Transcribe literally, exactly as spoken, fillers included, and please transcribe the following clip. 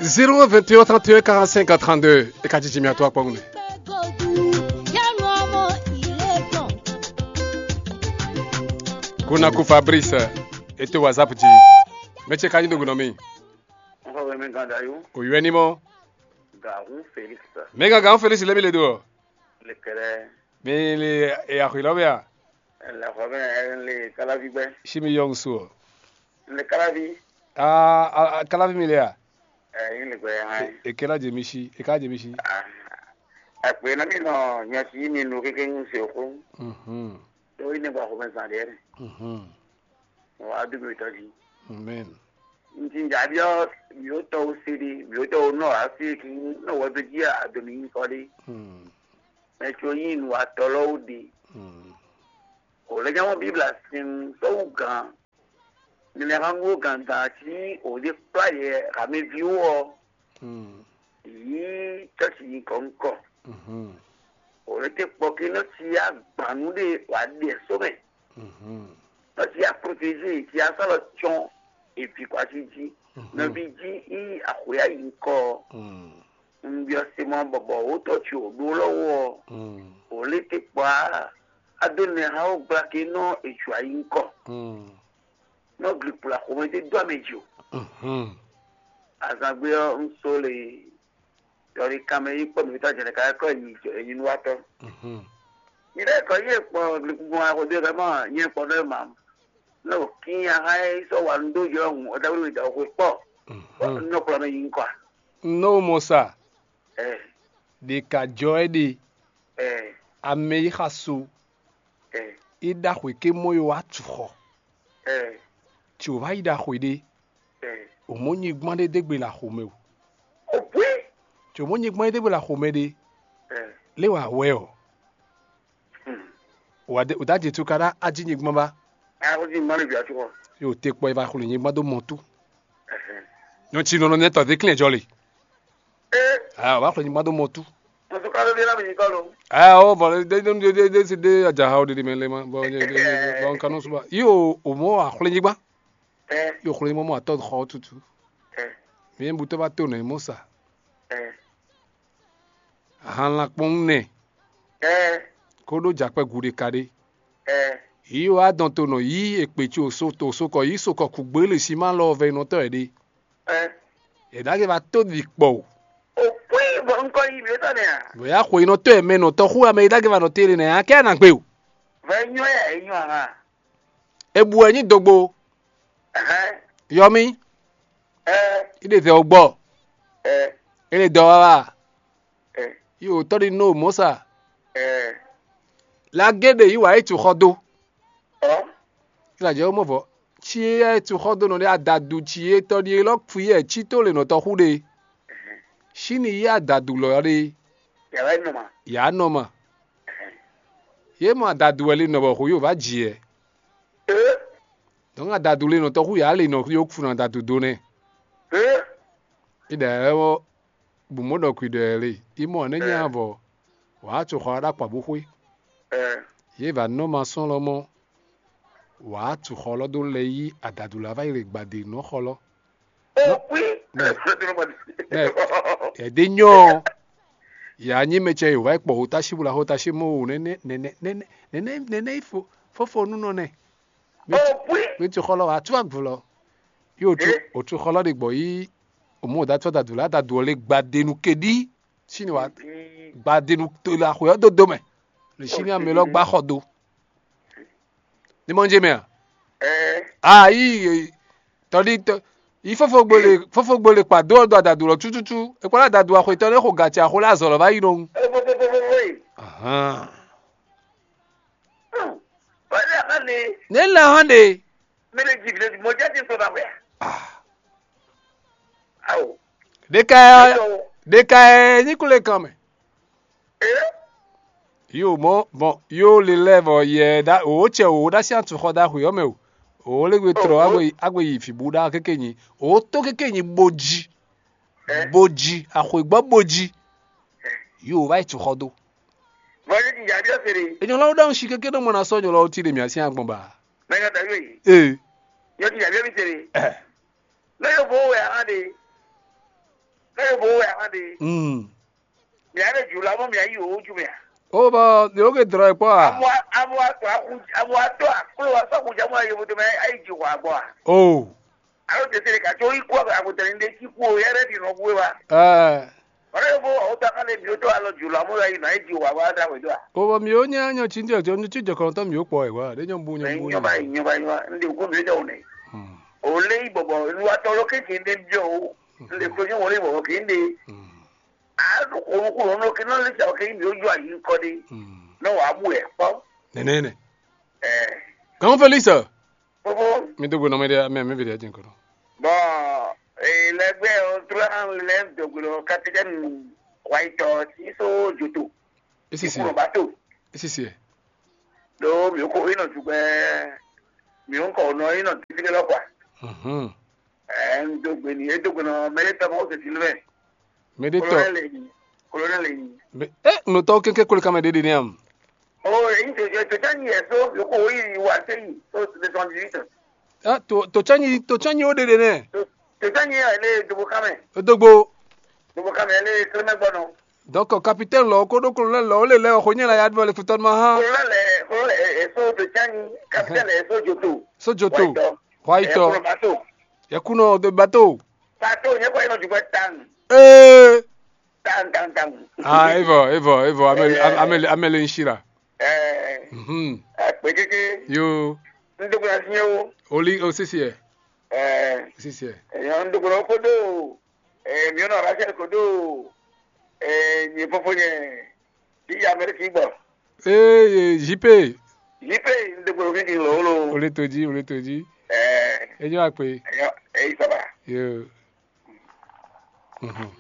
Zéro un vingt et un trente et un quarante-cinq trente-deux. E ka jiji mi atɔ akpɔ́n ne. Kunaku Fabrice, e to WhatsApp jí. Mɛ ce ka nyi do gunɔ mi. Nxɔ wɛ mi gan da yo. O yɔ ni mɔ. Gahun Felix. Mɛ gan gahun Felix lɛ mi le do. Le kɛlɛ. Mi le e axi lɔ bɛ a? Le xɔ bɛ le kalavi gbɛ. Si mi yɔ ŋsu o. Le kalavi. Aa, a, a, kalavi mi le a? Ɛ, yin le gbɛ ya hã. E kɛlɛ jɛ mi si, e ka jɛ mi si. Akpe na mi nɔ nyasi mi nu kéké ŋu se xó. Mhm. Ɖó yi ne gba xɔmɛ zan ɖe. Mhm. Wa du mi tɔ ji. Amen. Nti njabiɔ mi o tɔ o se ɖe, mi o tɔ o nɔ asi ki nɔ wɔ do ji a do mi nyikɔ ɖe. Hmm. Mɛ tso yin nu atɔ lɔ wo ɖe. Hmm. O le nyamɔ Bibla sin sɔwu gan. Mi le han wo gan dan ci o de kpla yɛ ha mi vi wo ɔ. Hmm. Yi cɔsi yi kɔ ŋkɔ. Mhm. O le te kpɔ ki nɔ ci agbanu ɖe wa ɖe so mɛ. Mhm. Nɔ ci a protégé ci a sɔlɔ tsɔn evi kwa ci ji. Mhm. Nɔvi ji yi axwe ayi ŋkɔ. Hmm. Nbiɔ se mɔ bɔbɔ wo tɔ ci o ɖo lɔ wo ɔ. Hmm. O le te kpɔ a a do nɛ ha wo gbla ke nɔ eju ayi ŋkɔ. Hmm. Nɔ glikpla xomɛ te do ame ji o. Mhm. Azangbe ɔ n so le yɔri kanmɛ yi kpɔ mi ta jɛnɛ ka kɔ yi yi nu wa tɔ. Mhm. Yi ɖe kɔ yi kpɔ glikpla xo de ka ma nyɛ kpɔ ɖe ma. Nɔ ki aha yi sɔ wa nu do jɔ hun o da wuli da xo kpɔ. Mhm. Nɔ kplɔ mɛ yi ŋkɔ. Nɔ mɔ sa. Ɛ. Ɖe ka jɔ ɛ ɖe. Ɛ. Ame yi xa so. Ɛ. I ɖaxwe ke mɔ yo wa tu xɔ. Ɛ. Tso va yi ɖaxwe ɖe. Ɛ. O mɔ nyigban ɖe degbe la xomɛ o. O pui. Tso mɔ nyigban ɖe degbe la xomɛ ɖe. Ɛ. Le wa wɛ o. Hmm. Wa de o da je tu ka ɖa aji nyigban ba. Ɛ, o ji mɔ ni bi atu xɔ. Yo te kpɔ e va xwle nyigban do mɔ tu. Ɛhɛn. Nyɔ tsi nɔnɔ nɛ tɔ de klɛn jɔ le. Ee. Ah, o va xwle nyigban do mɔ tu. Musu ka ɖo ɖe na mi nyigɔ lo. Ah, o bɔ de de de de de de ajaha o de de mɛ le ma bɔ de de bɔ nka nɔ suba. Yo, o mɔ a xwle nyigban. Ɛ. Yo xwle nyigban mɔ atɔ xɔ tutu. Ɛ. Mi bu to va to nɛ mɔ sa. Ɛ. Ahan lankpɔn nɛ. Ɛ. Ko ɖo jakpɛ guɖe ka ɖe. Ɛ. Yi wa dɔn to nɔ yi ekpe ci o so to so kɔ yi so kɔ kugbe le si ma lɔ vɛ nɔ tɔ ɛ ɖe. Ɛ. È ɖagbe va tó ɖi kpɔ o. O kpé bɔ ŋkɔ yi mi tɔ nɛ a? Vɔya xwe nɔ tɔ ɛ mɛ nɔ tɔ xú ame yi ɖagbe va nɔ tele nɛ a kɛ na gbe o. Vɛ nyɔ ya e nyɔ aha. Ebu ɛ nyi dogbo. Ɛhɛn. Yɔmi. Ɛ. I ɖe vɛ o gbɔ. Ɛ. E le dɔ wa wa. Ɛ. Yi o tɔ ɖi no mɔ sa. Ɛ. La gé ɖe yi wa yi tu xɔ do. Ɔ. Ilajɛ wo mɔ vɔ. Ci e tu xɔ do nɔ ɖe adadu ci e tɔ ɖi e lɔ fui yɛ ci to le nɔ tɔ xu ɖe. Sini yi adadu lɔ ɖe. Yàrá nɔ ma. Ya nɔ ma. Ye mɔ adadu wɛ le nɔ bɔ xo yo va ji yɛ. Ee. Donc adadu le nɔ tɔ xu ya le nɔ yo fun adadu do nɛ. Ee. Ida ɛ wɔ bu mɔ ɖɔ kui ɖɔ ɛ le. Imɔ ne nya vɔ. Wa tu xɔ aɖa kpa bu xwe. Ɛ. Ye va nɔ ma sɔn lɔ mɔ. Wǎ tu xɔ lɔ dó lɛ yí adadu la va yi le gbadé nɔ xɔ lɔ. Mɛ, mɛ, ɛdé nyɔ ɔ, yà á nyí mɛ cɛ yǒ wá yi kpɔ hótási bó la hótási mɔ o nɛnɛ nɛnɛ nɛnɛ nɛnɛ nɛnɛ yi fo fofo nú nɔ nɛ. Mɛ tu xɔ lɔ wǎ tú agbǔ lɔ. Yí o tu o tu xɔ lɔ ɖe gbɔ yí o mɔ o da tú adadu la adadu ɔ le gbadé nu keɖí. Síni wá gbadenu to le axwe ɔ́ dó dó mɛ, le síni amɛ lɔ gbá xɔ do. Ní mɔ jɛ mɛ a? Ayi tɔɖi tɔ yi fofogbo le fofogbo le kpa do ɔ́ dó adadu lɔ tututu. Ekpɔ́ adadu axwetɔ lɛ́ xo gati axo lɛ azɔ̌ lɔ va yi nɔ. Ahan. Ne la hàn de. Ɖeka ɖeka ní kú lè kan mɛ. Yóò mɔ bɔn yóò lè lɛ vɔ yɛ ɖa òwò cɛ òwò ɖa sí àtúnxɔ ɖaxwe ɔ́ mɛ o. Òwò lè gbe trɔ agbe agbe yi fǐbú ɖa kéke nyi. Òwò tó kéke nyi bó jí. Bó jí axwe gbɔ bó jí. Yóò wá yi tún xɔ dó. Enyɔlɔwo ɖɔhun si kéke ɖo mɔ na sɔ nyɔlɔwo ti ɖe mia sín agbɔn ba. Ee. Ee. Lɛ́ bo wɛ ahán ɖe. Mm. Mǐ á ɖe jǔ lá mɔ mǐ á yi wǒ jú mɛ a? O bɔ yǒ ke drɔ e kpɔ a? Amwa amwa tɔ aku amwa tɔ aklo wa sɔ́ kujà mɔ ayi foto mɛ ayi ji hwa gbɔ a? O. Alo tete ɖe ka tso yi kú agutɛ ni ɖe ki kú o yɛ ɖe ɖi nɔ kú e wa. Ɛɛ. Wala yóò fó ɔwọ́ tó akán lé mi ó tó alɔ jù lọ amúlò yìí nà é ji wà wá dá wẹ̀dó à. O bɔ mi ó nyá nyɔ tí jɔ tí jɔ kɔn tɔn mi ó kpɔ ɛ wa ɖé nyɔ bu nyɔ bu Nyɔba yìí nyɔba yìí wa ndé kó mi ó dɛ wò nɛ. Hmm. O lé yìí bɔ̀bọ̀ lu atɔ ló kékeré ndé jọ o. Ndé kó nyɔ wọlé bɔ̀bọ̀ kékeré ndé. Hmm. A ɖo kó kó ló ké náà lé sàwọ́ kékeré mi ó jọ àyè ńkọ́ dé. Hmm. Náà wàá bù ẹ̀ kpọ́. Nene ne. Ẹ̀. Kan Felix. Fofo. Mi dó gbe nɔ mi ɖe mi mi vi ɖe jin kɔnɔ. Bɔn lɛgbɛ o tlán lɛ dɔgblo kapitɛni wayitɔ sísó joto. Esisi. Kúrò bá tó. Esisi. Ɖó mi ko inɔ jugbɛ mi ŋkɔ nɔ inɔ dídílé lɔ kpa. Mhm. Ɛ ń dó gbe ni é dó gbe nɔ mɛ é tɔmɔ ó tètè lé mɛ. Mɛ ɖé tɔ. Kolonɛli yi. Kolonɛli yi. Mɛ ɛ nɔtɔ kɛnkɛ kolo kamɛ ɖe ɖe nɛ am. O èyí tó tó tó ní ẹ̀ tó yòókù ó yìí wá sẹ́yìn tó ti twenty eight. Ah, to to chanyi to chanyi o ɖe ɖe nɛ. Tó tó ní ẹ̀ lé dobo kámẹ́. Dogbo. Dobo kámẹ́ lé kílómẹ́ gbọ́dọ̀. Donc capitaine lɔ ko ɖo kolonɛli lɔ o le lɛ o xo nyɛ la ya ɖu le futɔ ma ha. Kolonɛli ẹ̀ so tó chanyi kapitɛni ẹ̀ so joto. So joto. White. White. Ẹ̀ kolo bato. Yɛ kunɔ de bato. Bato nyɛ kɔ yɛ nɔ jugbɛ tan. Ee. Tan tan tan. Ah, evɔ evɔ evɔ amele amele amele nsira. Ɛɛ. Mhm. Akpɛkeke. Yo. N dɔgɔya fiɲɛ o. Oli o sisi ɛ. Ɛɛ. Sisi ɛ. Ɛyɔ n dɔgɔya kodo. Ɛɛ miɔnɔ rachel kodo. Ɛɛ nyɛ fɔfɔ nyɛ. Ti ameriki gbɔ. Ee jipe. Jipe n dɔgɔya fi di lolo. Ole to ji ole to ji. Ɛɛ. Enyo akpe. Ɛyɔ eyi saba. Yo. Mhm.